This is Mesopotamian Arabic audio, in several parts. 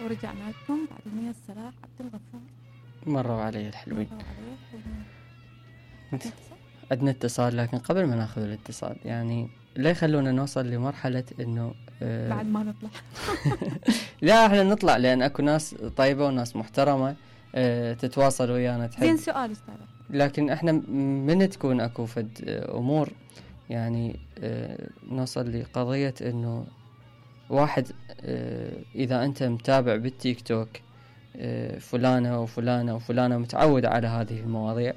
ورجعنا لكم بعد المية الصلاح عبد الغفور. مروا علي الحلوين. مروا علي الحلوين. عندنا اتصال، لكن قبل ما ناخذ الاتصال يعني لا يخلونا نوصل لمرحلة انه بعد ما نطلع. لا احنا نطلع، لان اكو ناس طيبة وناس محترمة تتواصل ويانا تحب. زين سؤال استاذ، لكن احنا من تكون اكو فد امور يعني نوصل لقضية انه واحد اذا انت متابع بالتيك توك فلانة وفلانة وفلانة متعود على هذه المواضيع،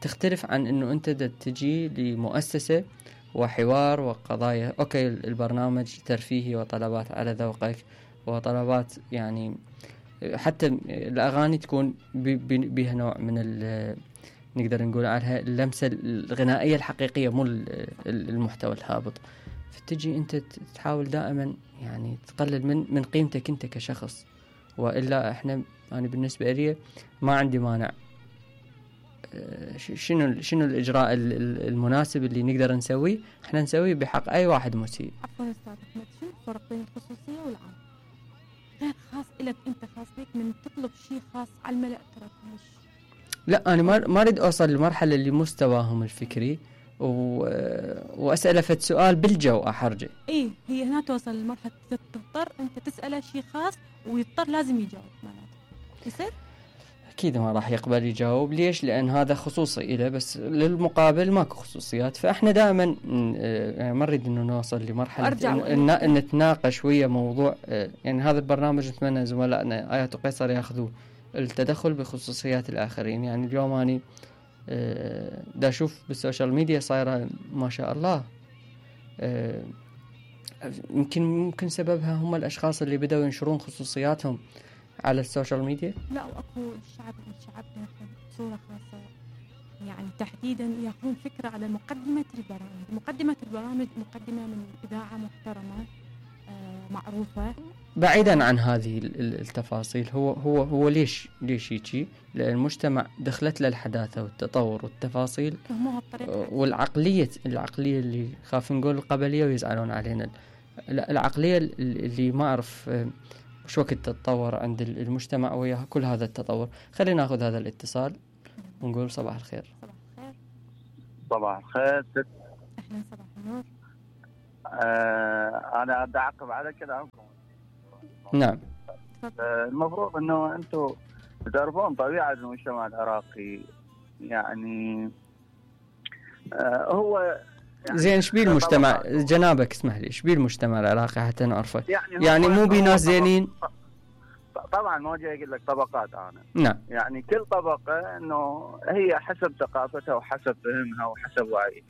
تختلف عن انه انت تجي لمؤسسة وحوار وقضايا. اوكي البرنامج ترفيهي وطلبات على ذوقك وطلبات يعني حتى الاغاني تكون بها نوع من نقدر نقول عليها اللمسة الغنائية الحقيقية مو المحتوى الهابط. فتجي انت تحاول دائما يعني تقلل من قيمتك انت كشخص، وإلا احنا يعني بالنسبة لي ما عندي مانع. شنو الإجراء المناسب اللي نقدر نسويه؟ احنا نسويه بحق أي واحد مسيء. عفوا أستاذ أحمد، شنو الفرق بين الخصوصية والعام؟ غير خاص إلك أنت، خاص بيك، من تطلب شيء خاص على الملأ ترى مش. لا أنا ما أريد أوصل لمرحلة اللي مستواهم الفكري وأسأله فد سؤال بالجو أحرجه. إيه هي هنا توصل لمرحلة تضطر أنت تسأله شيء خاص ويضطر لازم يجاوب معناته يصير؟ أكيد ما راح يقبل يجاوب. ليش؟ لأن هذا خصوصي إله، بس للمقابل ماكو خصوصيات. فإحنا دائما يعني ما نريد إنه نوصل لمرحلة إن نتناقش ويا موضوع. يعني هذا البرنامج نتمنى زملائنا آيات وقيصر يأخذوا التدخل بخصوصيات الآخرين. يعني اليوم أنا دا أشوف بالسوشيال ميديا صايرة ما شاء الله، ممكن سببها هم الأشخاص اللي بدأوا ينشرون خصوصياتهم على السوشيال ميديا. لا وأكو الشعب بصورة خاصة يعني تحديدا يأخذون فكرة على مقدمة البرامج مقدمة من إذاعة محترمة معروفة، بعيدا عن هذه التفاصيل. هو ليش يجي؟ لأن المجتمع دخلت له الحداثة والتطور والتفاصيل والعقلية اللي خاف نقول القبلية ويزعلون علينا. العقلية اللي ما أعرف وش وقت تتطور عند المجتمع وياها كل هذا التطور. خلينا ناخذ هذا الاتصال ونقول صباح الخير. صباح الخير. أهلا صباح النور. أنا أدي أعقب على كلامكم. نعم. المفروض إنه أنتم تعرفون طبيعة المجتمع العراقي يعني هو يعني زين. شبيه المجتمع جنابك اسمح لي، شبيه المجتمع العراقي حتى نعرفه؟ يعني مو بناس زينين طبعا ما جاي اقول لك طبقات انا. نعم. يعني كل طبقه انه هي حسب ثقافتها وحسب فهمها وحسب وعيها.